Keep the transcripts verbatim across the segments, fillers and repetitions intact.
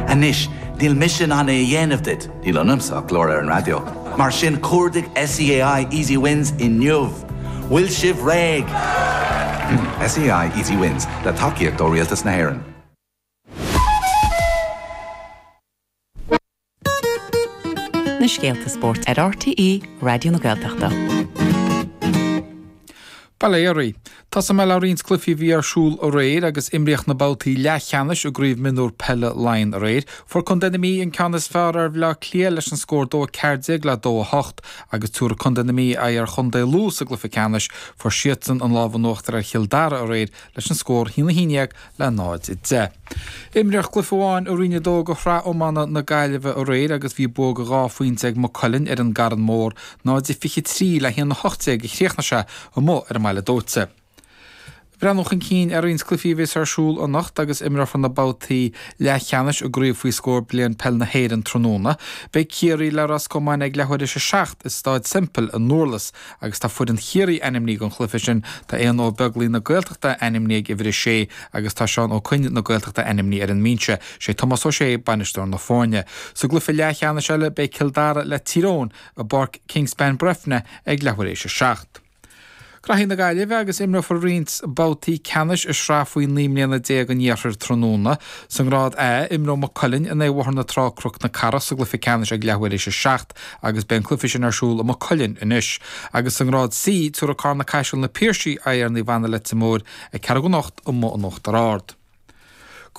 Anois, níl mise in ann é a dhéanamh duit, níl ionamsa ach glór ar an raidió. Mar sin cuardaigh SEAI Easy Wins inniu. Bhfuil sibh réidh. SEAI Easy Wins le tacaíocht ó Rialtas na hÉireann. Na scéalta spóirt ar RTÉ Raidió na Gaeltachta. Bail ó Dhia oraibh. Tosóidh mé le roinnt cluichí a bhí ar siúl aréir agus imríodh na babhtaí leathcheannais i gCraobh Mionúr Peile Laighean aréir. Fuair Contae na Mí an ceann is fearr ar Bhaile Átha Cliath leis an scór dó a ceathair déag le dó a hocht agus tabharfaidh Contae na Mí aghaidh ar Chontae Lú sa gcluiche ceannais. Fuair siadsan an lámh in uachtar ar Chill Dara aréir leis an scór haon a haon déag le náid a deich. Imríodh cluiche amháin i Roinn a dó de Shraith Iomána na Gaillimhe aréir agus bhí bua de dhá phointe ag Maigh Cuilinn ar an gCarn Mór, náid a fiche trí le haon a hocht déag a chríochnaigh sé amuigh ar an mBaile Dóite. Breathnú chun cinn ar roinnt cluichí a bheas ar siúl anocht agus imreofar na babhtaí leathcheannais i gcraobh faoi scór bliain peil na hÉireann tráthnóna. Beidh Ciarraí le Ros Comáin ag leathuair théis a seacht i Staid Semple i nDurlas agus tá foireann Chiarraí ainmnithe don chluiche sin. Tá Éanna Ó Beaglaoi na Gaeltachta ainmnithe ag uimhir a sé agus tá Seán Ó Coinn na Gaeltachta ainmnithe ar an mbinse. Sé Tomás Ó Sé bainisteoir na foirne. Sa gcluiche leathcheannais eile beidh Cill Dara le Tír Eoghain i bPáirc Kingspan Breifne ag leathuair théis a seacht. Graithí na Gaillimhe agus imreofar roinnt babhtaí ceannais i sraith faoi naoi mbliana déag an Iarthair tráthnóna. Sa ngrád A, imreoidh Maigh Cuilinn in aghaidh Bhóthar na Trá Cnoc na Cathrach sa gcluiche ceannais ag leathuair théis a seacht agus beidh an cluiche sin ar siúl i Maigh Cuilinn anois. Agus sa ngrád C, tabharfaidh Carna Caiseal Na Piarsaigh aghaidh ar Naomh Anna Leitir Móir ag ceathrú don ocht amuigh in Uachtar Ard.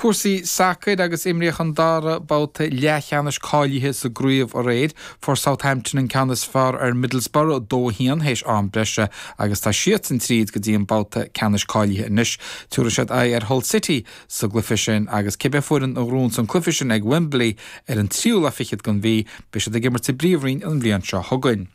Cúrsaí sacair agus imríodh an dara babhta leathcheannais cáilithe sa gcraobh aréir. Fuair Southampton an ceann is fearr ar Middlesbrough, dó a haon, théis am breise agus tá siadsan tríd go dtí an babhta ceannais cáilithe anois. Tabharfaidh siad aghaidh ar Hull City sa gcluiche sin agus cibé foireann a ghnóthaíonn an cluiche sin ag Wembley ar an tríú lá fichead den mhí, beidh siad ag imirt sa bPríomhroinn an bhliain seo chugainn.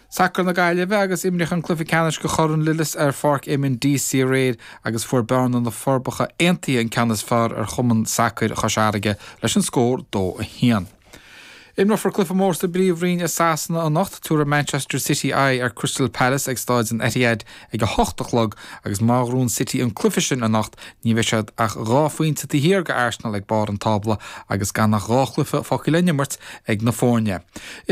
Sacar na Gaillimhe agus imríodh an cluiche ceannais de Chorn Lillis ar Pháirc Éamonn Deacy aréir agus fuair Bearna na Forbacha Aontaithe an ceann is fearr ar Chumann Sacair Chois Fharraige leis an scór dó a haon. Imreofar cluiche mór sa bPríomhroinn i Sasana anocht, tabharfaidh Manchester City aghaidh ar Crystal Palace ag Stáid an Etihad ag a hocht a chlog agus má ghnóthaíonn City an cluiche sin anocht ní bheidh siad ach dhá phointe taobh thiar de Arsenal ag barr an tábla agus gan ach dhá chluiche fágtha le n-imirt ag na foirne.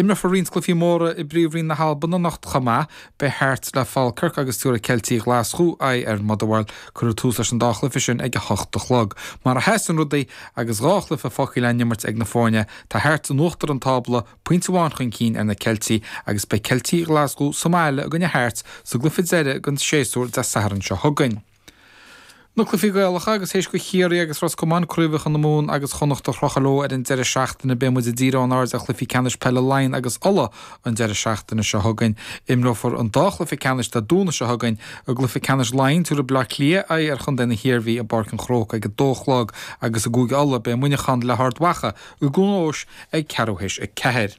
Imreofar roinnt cluichí móra i bPríomhroinn na hAlban anocht chomh maith. Beidh Hearts le Falkirk agus tabharfaidh Ceiltigh Ghlaschú aghaidh ar Motherwell. Cuirfear tús leis an dá chluiche sin ag a hocht a chlog. Mar a sheasann rudaí agus dhá chluiche fágtha le n-imirt ag na foirne, tá Hearts in uachtar an tábla, pointe amháin chun cinn ar na Ceiltigh agus beidh Ceiltigh Ghlaschú sa mbaile i gcoinne Hearts sa gcluiche deiridh den séasúr Dé Sathairn seo chugainn. Na cluichí Gaelacha agus théis do Chiarraí agus Ros Comáin craobhacha na Mumhan agus Chonnacht a chrochadh leo ar an deireadh seachtaine beidh muid ag díriú ár n-aird ar chluichí ceannais peile Laighean agus Uladh an deireadh seachtaine seo chugainn. Imreofar an dá chluiche ceannais Dé Domhnaigh seo chugainn. I gcluiche ceannais Laighean tabharfaidh Baile Átha Cliath aghaidh ar chontae na hIarmhí i bPáirc an Chrócaigh ag a dó a chlog agus i gCúige Uladh beidh Muineachán le hArd Mhacha i gCluain Eois ag ceathrú théis a ceathair.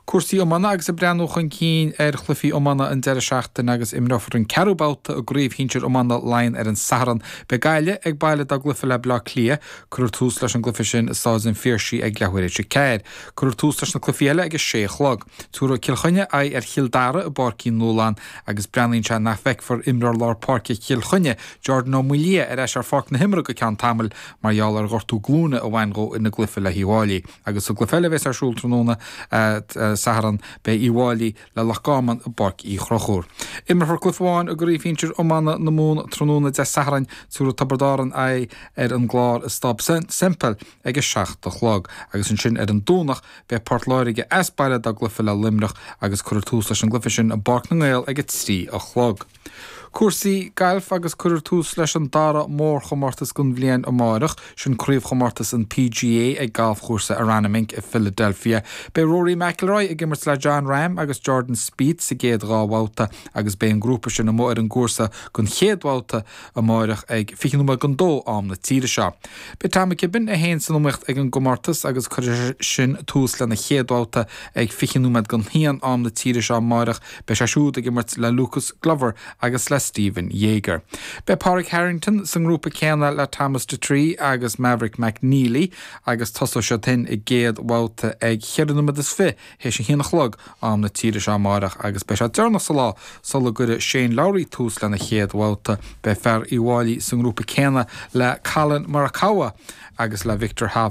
Cúrsaí iomána agus ag breathnú chun cinn ar chluichí iomána an deireadh seachtaine agus imreofar an ceathrú babhta i gcraobh shinsir iomána Laighean ar an Satharn. Beidh Gaillimh ag baile dá gcluiche le Baile Átha Cliath. Cuirfear tús leis an gcluiche sin i Stáid an Phiarsaigh ag leathuair théis a ceathair. Cuirfear tús leis na cluichí eile ag a sé a chlog. Tabharfaidh Cill Chainnigh aghaidh ar Chill Dara i bPáirc Uí Nualláin agus breathnaíonn sé nach bhfeicfear imreoir lár páirce Chill Chainnigh, Jordan Ó Maolaodha, ar ais ar pháirc na himeartha go ceann tamaill mar gheall ar ghortú glúine a bhain dhó ina gcluiche le hUíbh Fháilí. Agus sa gcluiche eile a bheas ar siúl tráthnóna Satharn, beidh Uíbh Fháilí le Loch Garman i bPáirc Uí Chonchúir. Imreofar cluiche amháin i gcraobh shinsir iomána na Mumhan tráthnóna Dé Sathairn, tabharfaidh Tiobraid Árann aghaidh ar an gClár i Staid Semple ag a seacht a chlog. Agus ansin ar an Domhnach, beidh Port Láirge as baile dá gcluiche le Luimneach agus cuirfear tús leis an gcluiche sin i bPáirc na nGael ag a trí a chlog. Cúrsaí gailf agus cuirfear tús leis an dara mórchomórtas den bhliain amáireach, sin craobhchomórtas an PGA ag galfchúrsa Aronimink i Philadelphia. Beidh Rory McIlroy ag imirt le Jon Rahm agus Jordan Spieth sa gcéad dhá bhabhta agus beidh an grúpa sin amuigh ar an gcúrsa don chéad bhabhta amáireach ag fiche nóiméad don dó am na tíre seo. Beidh Tom McKibbin a haon san iomaíocht ag an gcomórtas agus cuirfidh sin tús lena chéad bhabhta ag fiche nóiméad don haon am na tíre seo amáireach. Beidh sé siúd ag imirt le Lucas Glover agus le Stephen Jaeger. Beidh Pádraig Harrington sa ngrúpa céanna le Thomas Detry agus Maverick McNealy agus tosóidh siad féin a gcéad bhabhta ag cheithre nóiméad is fiche théis a haon a chlog am na tíre seo amáireach agus beidh sé deireanach sa lá sula gcuirfidh Shane Lowry tús lena chéad bhabhta. Beidh fear Uíbh Fháilí sa ngrúpa céanna le Collin Morikawa agus le Viktor Hovland.